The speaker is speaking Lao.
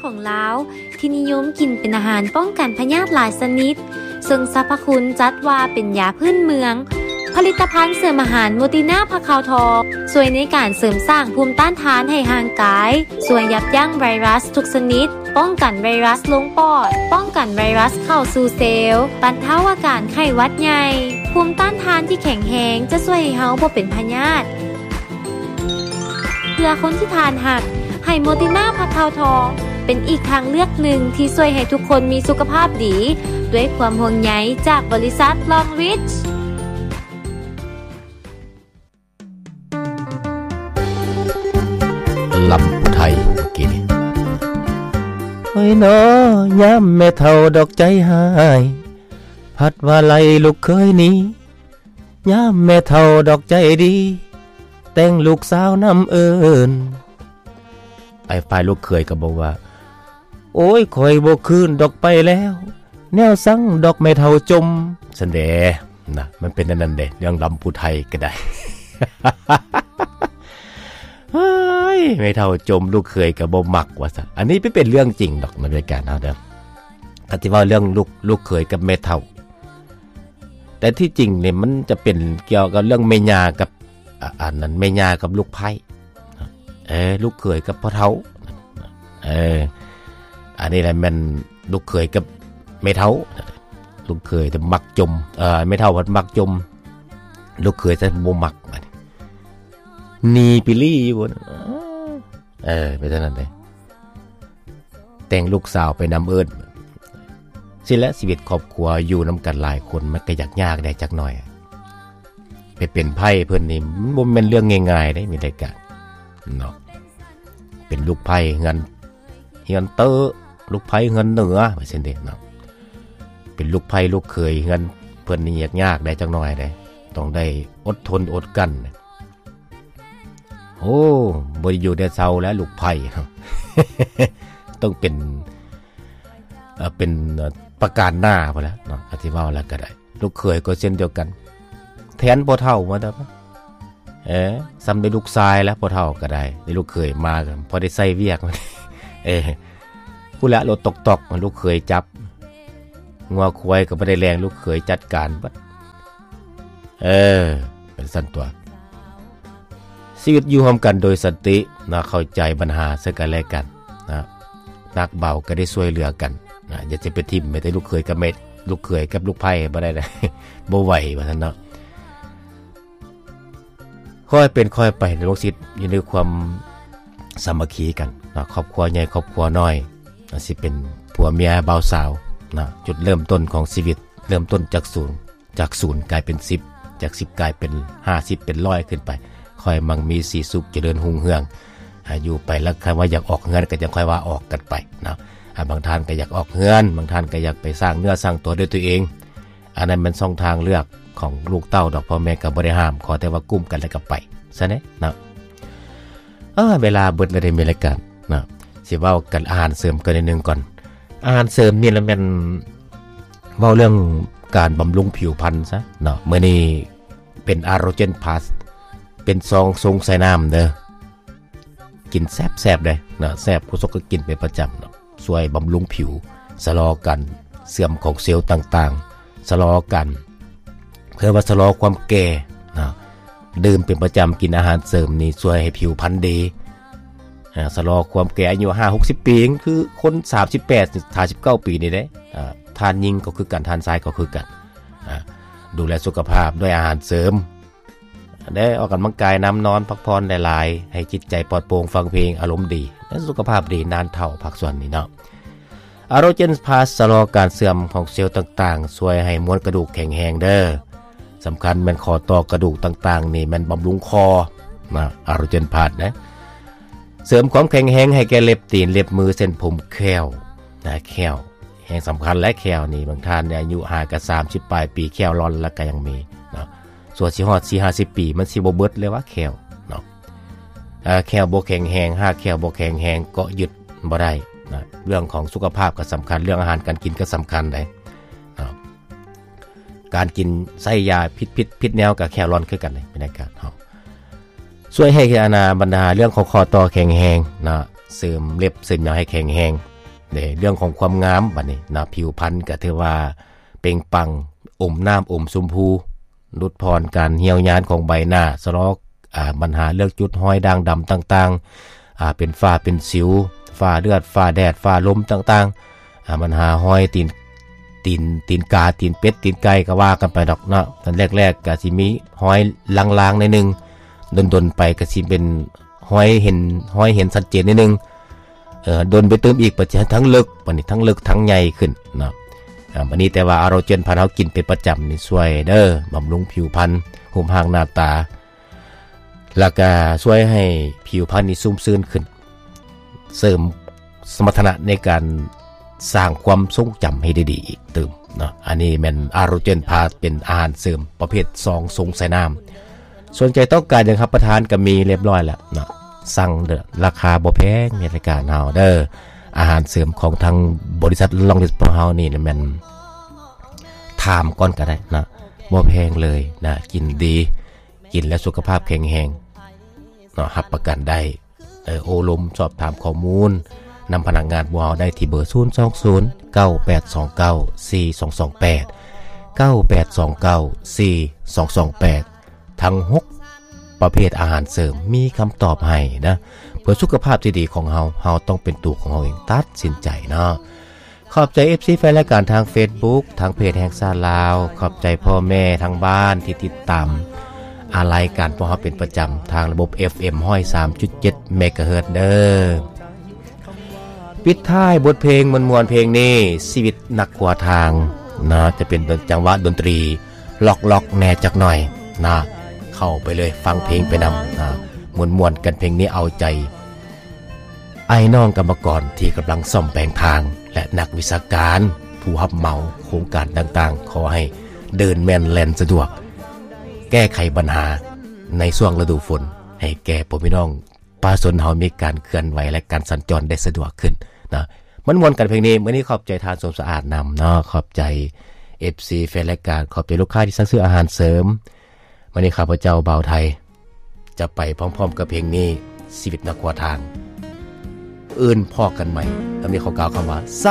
ຂອງລາວ ທີ່ນິຍົມກິນເປັນອາຫານປ້ອງກັນພະຍາດຫຼາຍຊະນິດ, ເຊິ່ງສັບພະຄຸນຈັດວ່າເປັນຢາພື້ນເມືອງ. ຜະລິດຕະພັນເສີມອາຫານໂມຕິນາຜັກຂາວທອງ ຊ່ວຍໃນການເສີມສ້າງພູມຕ້ານທານໃຫ້ຮ່າງກາຍ, ຊ່ວຍຢັບຢັ້ງໄວຣັສທຸກຊະນິດ, ປ້ອງກັນໄວຣັສລົງປອດ, ປ້ອງກັນໄວຣັສເຂົ້າສູ່ເຊວ, ບັນເທົາອາການໄຂ້ຫວັດໃຫຍ່. ພູມຕ້ານທານທີ່ແຂງແຮງຈະຊ່ວຍໃຫ້ເຮົາບໍ່ເປັນພະຍາດ. ເພື່ອຄົນທີ່ທ່ານຮັກ, ໄຮໂມຕິນາຜັກຂາວທອງ ເປັນອີກທາງເລືອກໜຶ່ງທີ່ຊ່ວຍໃຫ້ທຸກຄົນມີສຸຂະພາບດີ, ດ້ວຍຄວາມຫ່ວງໃຍຈາກບໍລິສັດ Long Reach. ລຳຜູ້ໄທເມື່ອກີ້ນີ້. ໂອ້ຍນໍ ຍາມແມ່ເຖົ້າດອກໃຈຮ້າຍ ພັດວ່າໄລ່ລູກເຂີຍໜີ ຍາມແມ່ເຖົ້າດອກໃຈດີ ແຕ່ງລູກສາວນຳເອີ້ນ. ໄອ້ຝ່າຍລູກເຂີຍກໍບອກວ່າ ໂອ້ຍ ຂ້ອຍບໍ່ຄືນດອກໄປແລ້ວ ແນວສັງດອກແມ່ເຖົ້າຈົ່ມ ຊັ້ນເດ. ນະ ມັນເປັນອັນນັ້ນເດ ເລື່ອງລຳຜູ້ໄທກໍໄດ້. ເຮີ້ຍ ແມ່ເຖົ້າຈົ່ມ ລູກເຂີຍກໍບໍ່ມັກວ່າຊັ້ນ. ອັນນີ້ເປັນເລື່ອງຈິງດອກໃນລາຍການເຮົາເດີ ຄັນຊິເວົ້າເລື່ອງລູກ ລູກເຂີຍກັບແມ່ເຖົ້າ. ແຕ່ທີ່ຈິງນີ້ມັນຈະເປັນກ່ຽວກັບເລື່ອງແມ່ຍ່າກັບ ອາ ອັນນັ້ນ ແມ່ຍ່າກັບລູກໃພ້ ເອີ ລູກເຂີຍກັບພໍ່ເຖົ້າ ເອີ ອັນນີ້ແຫຼະແມ່ນລູກເຂີຍກັບແມ່ເຖົ້າ. ລູກເຂີຍຈະມັກຈົ່ມ ເອີ ແມ່ເຖົ້າພັດມັກຈົ່ມ ລູກເຂີຍຈະບໍ່ມັກ ໜີໄປລີ້ຢູ່. ເອີ ເປັນຈັ່ງນັ້ນເດ້ ແຕ່ງລູກສາວໄປນຳເອີ້ນ. ຊີ້ແຫຼະ ຊີວິດຄອບຄົວຢູ່ນຳກັນຫຼາຍຄົນ ມັນກໍຢາກຍາກແດ່ຈັກໜ້ອຍ. ໄປເປັນໃພ້ເພິ່ນນີ້ ມັນບໍ່ແມ່ນເລື່ອງງ່າຍໆເດ້ ມີລາຍການເນາະ. ເປັນລູກໃພ້ເຮືອນ ເຮືອນເຕີ ລູກໃພ້ເຮືອນເໜືອ ວ່າຊັ້ນເດເນາະ. ເປັນລູກໃພ້ລູກເຂີຍເຮືອນເພິ່ນນີ້ຍາກໆແດ່ຈັກໜ້ອຍເດ້ ຕ້ອງໄດ້ອົດທົນອົດກັ້ນ. ໂອ້ ບໍ່ໄດ້ຢູ່ໄດ້ເຊົາແລ້ວລູກໃພ້ ຕ້ອງເປັນ ເອີ ເປັນ ເອີ ປະການໜ້າພຸ້ນແຫຼະເນາະ ອະທິເວົ້າແລ້ວກໍໄດ້. ລູກເຂີຍກໍເຊັ່ນດຽວກັນ ແທນພໍ່ເຖົ້າມາແຕ່ ເອີ ສ່ຳໄດ້ລູກຊາຍແລ້ວ ພໍ່ເຖົ້າກໍໄດ້ ໄດ້ລູກເຂີຍມາກໍພໍໄດ້ໃຊ້ວຽກ. ເອີ ພຸ້ນແຫຼະ ລົດຕອກໆ ລູກເຂີຍຈັບ ງົວຄວາຍກໍບໍ່ໄດ້ແລ່ງ ລູກເຂີຍຈັດການເບິດ. ເອີ ເປັນຊັ້ນຕົວະ. ຊີວິດຢູ່ຮ່ວມກັນໂດຍສັນຕິນະ ເຂົ້າໃຈບັນຫາເຊິ່ງກັນແລະກັນນະ ໜັກເບົາກໍໄດ້ຊ່ວຍເຫຼືອກັນນະ. ຢ່າຈະໄປຖິ້ມແມ້ແຕ່ລູກເຂີຍກັບແມ່ ລູກເຂີຍກັບລູກໃພ້ບໍ່ໄດ້ນະ ບໍ່ໄຫວວ່າຊັ້ນເນາະ. ຄ່ອຍເປັນຄ່ອຍໄປ ລູກສິດຢູ່ໃນຄວາມສາມັກຄີກັນເນາະ. ຄອບຄົວໃຫຍ່ຄອບຄົວນ້ອຍ ອາດຊິເປັນຜົວເມຍບ່າວສາວນະ ຈຸດເລີ່ມຕົ້ນຂອງຊີວິດ ເລີ່ມຕົ້ນຈາກສູນ ຈາກສູນກາຍເປັນສິບ ຈາກສິບກາຍເປັນຫ້າສິບ ເປັນຮ້ອຍຂຶ້ນໄປ. ຄ່ອຍມັ່ງມີສີສຸກຈະເລີນຮຸ່ງເຮືອງ ອາ ຢູ່ໄປ ແລ້ວຄັນວ່າຢາກອອກເຮືອນກໍຈັ່ງຄ່ອຍວ່າອອກກັນໄປເນາະ. ອາ ບາງທ່ານກໍຢາກອອກເຮືອນ ບາງທ່ານກໍຢາກໄປສ້າງເນື້ອສ້າງຕົວດ້ວຍຕົວເອງ. ອັນນັ້ນແມ່ນຊ່ອງທາງເລືອກຂອງລູກເຕົ້າດອກ ພໍ່ແມ່ກໍບໍ່ໄດ້ຫ້າມ ຂໍແຕ່ວ່າກຸ້ມກັນແລ້ວກໍໄປຊະແດ່ເນາະ. ເອີ ເວລາເບິດແລ້ວເດ້ ມີລາຍການເນາະ ຊິເວົ້າກັນອາຫານເສີມກັນໜ້ອຍໜຶ່ງກ່ອນ. ອາຫານເສີມນີ້ລະແມ່ນເວົ້າເລື່ອງການບຳລຸງຜິວພັນຊະເນາະ. ມື້ນີ້ເປັນ Arogen Plus ເປັນຊອງຊົງໃສ່ນ້ຳເດີ. ກິນແຊບໆເດ້ເນາະ ແຊບ ຄູສົກກໍກິນເປັນປະຈຳເນາະ. ຊ່ວຍບຳລຸງຜິວ ຊະລໍການເສື່ອມຂອງເຊວຕ່າງໆ ຊະລໍການ ເອີ້ນວ່າຊະລໍຄວາມແກ່ເນາະ. ດື່ມເປັນປະຈຳ ກິນອາຫານເສີມນີ້ຊ່ວຍໃຫ້ຜິວພັນດີ ອາ ຊະລໍຄວາມແກ່. ອາຍຸຫ້າຫົກສິບປີ ຄືຄົນສາມສິບແປດ ສາມສິບເກົ້າປີນີ້ເດ້. ອາ ທ່ານຍິງກໍຄືກັນ ທ່ານຊາຍກໍຄືກັນ. ອາ ດູແລສຸຂະພາບດ້ວຍອາຫານເສີມ ໄດ້ອອກກຳລັງກາຍນຳ, ນອນພັກຜ່ອນຫຼາຍໆ ໃຫ້ຈິດໃຈປອດໂປ່ງ, ຟັງເພງ, ອາລົມດີ ແລະ ສຸຂະພາບດີນານເຖົ້າ. ພາກສ່ວນນີ້ເນາະ Arogen Plus ຊະລໍການເສື່ອມຂອງເຊວຕ່າງໆ, ຊ່ວຍໃຫ້ມວນກະດູກແຂງແຮງເດີ. ສຳຄັນແມ່ນຂໍ້ຕໍ່ກະດູກຕ່າງໆ ນີ້ແມ່ນບຳລຸງຄໍນະ Arogen Plus ນະ. ເສີມຄວາມແຂງແຮງໃຫ້ແກ່ເລັບຕີນ, ເລັບມື, ເສັ້ນຜົມ, ແຂ້ວນະ, ແຂ້ວແຮ່ງສຳຄັນ ແລະ ແຂ້ວນີ້ ບາງທ່ານອາຍຸຫາກະສາມສິບປາຍປີ ແຂ້ວລອນລະກະຍັງມີເນາະ. ສ່ວນຊິຮອດສີ່ຫ້າສິບປີ ມັນຊິບໍ່ເບິດເລີຍວ່າແຂ້ວເນາະ. ເອີ ແຂ້ວບໍ່ແຂງແຮງ ຮາກແຂ້ວບໍ່ແຂງແຮງ ເກາະຍຶດບໍ່ໄດ້ນະ. ເລື່ອງຂອງສຸຂະພາບກໍສຳຄັນ ເລື່ອງອາຫານການກິນກໍສຳຄັນເດ້ເນາະ. ການກິນໃຊ້ຢາຜິດໆ ຜິດແນວກໍແຂ້ວລອນຄືກັນເດ້ ເປັນອາການເຮົາ. ຊ່ວຍໃຫ້ອັນນາ ບັນດາເລື່ອງຂອງຂໍ້ຕໍ່ແຂງແຮງເນາະ ເສີມເລັບເສີມຫຍັງໃຫ້ແຂງແຮງ ເດ້ ເລື່ອງຂອງຄວາມງາມບັດນີ້ນະ ຜິວພັນກໍຖືວ່າເປັ່ງປັງ ອົມນ້ຳອົມຊົມພູ ຫຼຸດຜ່ອນການຫ່ຽວຍານຂອງໃບໜ້າ ຊະລໍ ອາ ບັນຫາເລື່ອງຈຸດຮອຍດ່າງດຳຕ່າງໆ ອາ ເປັນຝ້າເປັນສິວ ຝ້າເລືອດ ຝ້າແດດ ຝ້າລົມຕ່າງໆ ອາ ບັນຫາຮອຍຕີນ ຕີນ ຕີນກາ ຕີນເປັດ ຕີນໄກ່ ກໍວ່າກັນໄປດອກເນາະ. ຕອນແລກໆກໍຊິມີຮອຍລາງໆໜ້ອຍໜຶ່ງ ດົນໆໄປກໍຊິເປັນຮອຍເຫັນ ຮອຍເຫັນຊັດເຈນໜ້ອຍໜຶ່ງ ເອີ ດົນໄປຕື່ມອີກ ປະເທດທັງເລິກ ບັດນີ້ທັງເລິກທັງໃຫຍ່ຂຶ້ນເນາະ. ອາ ບັດນີ້ແຕ່ວ່າອາໂຣເຈນພັນເຮົາກິນເປັນປະຈຳນີ້ ຊ່ວຍເດີ ບຳລຸງຜິວພັນ ຮູບຮ່າງໜ້າຕາ ແລ້ວກະຊ່ວຍໃຫ້ຜິວພັນນີ້ຊຸ່ມຊື່ນຂຶ້ນ ເສີມສະມັດຖະນະໃນການສ້າງຄວາມຊົງຈຳໃຫ້ດີໆອີກຕື່ມເນາະ. ອັນນີ້ແມ່ນອາໂຣເຈນພາສ ເປັນອາຫານເສີມປະເພດຊອງຊົງໃສ່ນ້ຳ. ສົນໃຈຕ້ອງການຫຍັງຮັບປະທານກໍມີລຽບລ້ອຍແລ້ວເນາະ ສັ່ງເດີ ລາຄາບໍ່ແພງໃນລາຍການເຮົາເດີ. ອາຫານເສີມຂອງທາງບໍລິສັດລອງລິດພວກເຮົານີ້ແມ່ນຖາມກ່ອນກໍໄດ້ເນາະ ບໍ່ແພງເລີຍນະ ກິນດີ ກິນແລ້ວສຸຂະພາບແຂງແຮງເນາະ ຮັບປະກັນໄດ້. ເອີ ໂອ້ລົມສອບຖາມຂໍ້ມູນນຳພະນັກງານພວກເຮົາໄດ້ທີ່ເບີ ສູນສອງສູນ ເກົ້າແປດສອງເກົ້າ ສີ່ສອງສອງແປດ ເກົ້າແປດສອງເກົ້າ ສີ່ສອງສອງແປດ. ທັງຫົກປະເພດອາຫານເສີມມີຄຳຕອບໃຫ້ນະ ເພື່ອສຸຂະພາບທີ່ດີຂອງເຮົາ ເຮົາຕ້ອງເປັນຕົວຂອງເຮົາເອງ ຕັດສິນໃຈເນາະ. ຂອບໃຈເອັຟຊີແຟນລາຍການທາງເຟສບຸກ ທາງເພຈແຫ່ງຊາດລາວ, ຂອບໃຈພໍ່ແມ່ທາງບ້ານທີ່ຕິດຕາມ ອາ ລາຍການພວກເຮົາເປັນປະຈຳທາງລະບົບເອັຟເອັມ ຮ້ອຍສາມຈຸດເຈັດ ເມກາເຮີດເດີ. ປິດທ້າຍບົດເພງມ່ວນໆເພງນີ້ ຊີວິດນັກຂົວທາງເນາະ ຈະເປັນດ- ຈັງຫວະດົນຕຣີລັອກໆແດ່ຈັກໜ່ອຍນະ ເຂົ້າໄປເລີຍ ຟັງເພງໄປນຳນະ ມ່ວນໆກັນເພງນີ້ ເອົາໃຈອ້າຍນ້ອງກຳມະກອນທີ່ກຳລັງສ້ອມແປງທາງ ແລະ ນັກວິຊາການຜູ້ຮັບເໝົາໂຄງການຕ່າງໆ ຂໍໃຫ້ເດີນແມ່ນແລ່ນສະດວກ ແກ້ໄຂບັນຫາໃນຊ່ວງລະດູຝົນ ໃຫ້ແກ່ພໍ່ແມ່ພີ່ນ້ອງ ປະຊາຊົນເຮົາມີການເຄື່ອນໄຫວ ແລະ ການສັນຈອນໄດ້ສະດວກຂຶ້ນນະ. ມ່ວນໆກັນເພງນີ້ ມື້ນີ້ຂອບໃຈທ່ານສົມສະອາດນຳເນາະ ຂອບໃຈເອັຟຊີແຟນລາຍການ ຂອບໃຈລູກຄ້າທີ່ສັ່ງຊື້ອາຫານເສີມ. ມື້ນີ້ຂ້າພະເຈົ້າບ່າວໄທ ຈະໄປພ້ອມໆກັບເພງນີ້ ຊີວິດນັກຂົວທາງ. ອື່ນພໍ້ກັນໃໝ່. ຕອນນີ້ຂໍກ່າວຄຳວ່າ ສະ